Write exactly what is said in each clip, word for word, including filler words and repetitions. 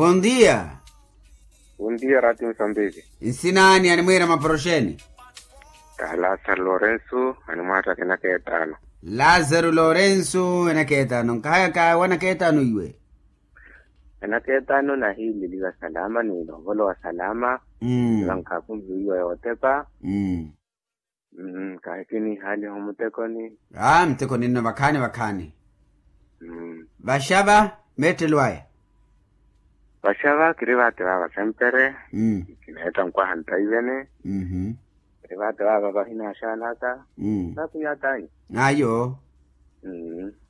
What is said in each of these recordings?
Bondia. Bondia rati musambiki. Nsina ani animwira maporoxeni? Ka lazaro lorenso animwataka enaka etaano. Lazaro lorenso enaka etaano nkahayaka wanaka etaano iwe? Enaka etaano nahileliwa salama ni novolowa salama. Vankhakunviwiwa yootepa. Kahi kiniihaliha omutekoni. Aa mutekoni nno vakhaani vakhaani. Vaxava meettelo aya. Vaxava kiri vaate vaava sempre. Kineetta nkwaha ntaivene. Kiri vaate vaava vahinaxanaka. Nakunyatanya. Ayo.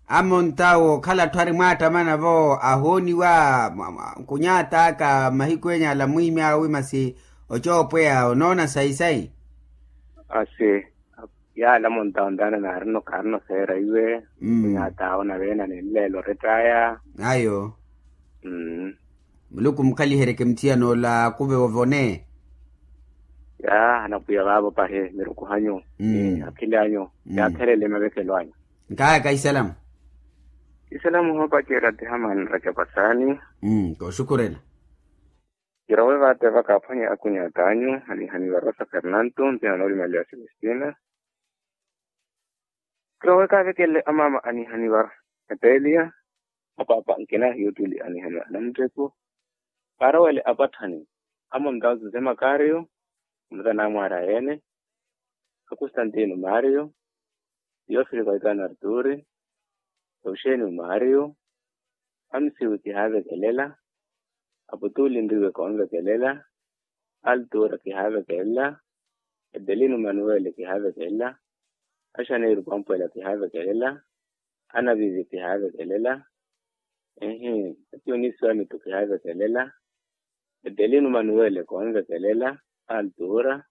Amonta wookhala atthu ari mwaattamana vo ahooniwa nkunyataka mahiku enya ala mwiimi awi masi ocoopweya onoona sayi-sayi. Asi yaala monta ontaana naarino khaarino seera iwe. Nkunyataawo naveena ni nleelo orettaya. Ayo. Muluku mukhaliheryeke muthiyana ola akuve ovone. Ya anapwiya vaavo pahi mirukuhanyu ni akhili anyu. Yaakherele mavekelo anyu. Nkahayaka isalamu. Isalamu hoopacerya tihamani racapasani. Kooxukhurela. Kirowe vaate vakaaphwanya akunyata anyu anihaniwa rosa fernanto mpihano olimaliwa celestina. Kirowe kaavekelele amaama anihaniwa epelia. Apaapa nkina yotuli anihaniwa anamutteku. Kaarowele apatthani amonta jose makario. Mutana amwaari ayeene. Akustantino mario. Tiofili kaitano arturi. Euxenio mario. Amsiwi kihaavekelela. Aputuli nriwe koonvekelela. Altura kihaavekelela. Edelino manuwele kihaavekelela. Axaneiru pampwela kihaavekelela. Anavivi kihaavekelela. Ehi. Ationisi wa mitu kihaavekelela. Edelino manuwele koonvekelela. Altura.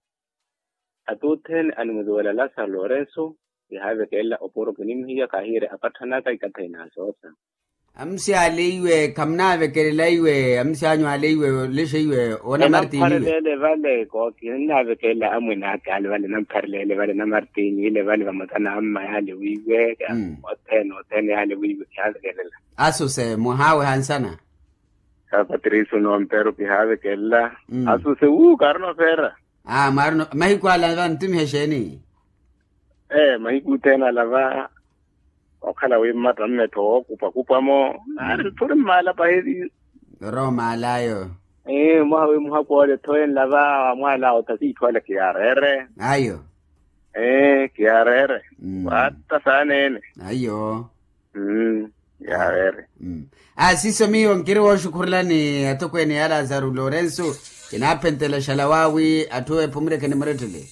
Atuthene animutuwela lasaro lorenso. Kihaavekelela opuro kinimhiya kahiire apatthanaka ikatha inaasosa. Amusi ale iwe khamunaavekelela iwe amusi anyu ale iwe olexe iwe wona martini iwe. Enamphareleele vale kooki ninaavekelela amwene aka ale vale enamphareleele vale na martini ile vale vamutana amma yaale wiiwe. Othene othene yaale wiiwe kihaavekelela. Asuse muhaawe hansana. Sa patricio nompero kihaavekelela. Asuse wuu kaarino feera. Aa mwaarino mahiku ala va ntumiha exeeni? Ee mahiku othene ala va. Okhala wi mmatta mmettho wookupakupa-mo naari nthuri mmaala pahi. Orowa omaala ayo. Ee mwaha wi muhakhu ole ethoyenla va wamwaala othasi itthu ale kiyaareere. Ayo. Ee kiyaareere. Waatta saaneene. Ayo. Mmm. Yaaweere. Aasiso miyo nkiri wooxukhurelani atokweene ya lazaru lorenso. Kinaaphenttela xala waawi atthu ephumureke nimurettele.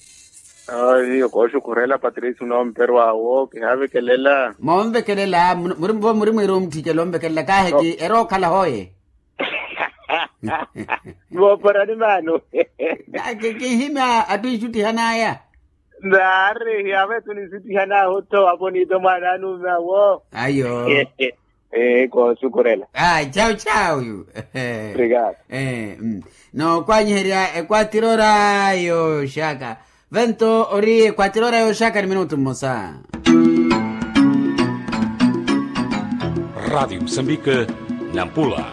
Miyo kooxukhurela patricio noomperwa awo kihaavekelela. Moonvekelela muri mwiira omutthicelela onvekelela kaaheki erookhala hooye. Vooporani maano. Kinhimya atthu ixuttihanaya. Naari hiyaavetu ninsuttihanaahu-tho aponiito mwaana anuume awo. Ayo. Ee koosukurela. Chawu chawu. Obrigado. Nookwanyiherya ekwatirora yooxaka. Vento ori ekwatirora yooxaka ni minutu mmosa. Radiyo musambika. Nampula.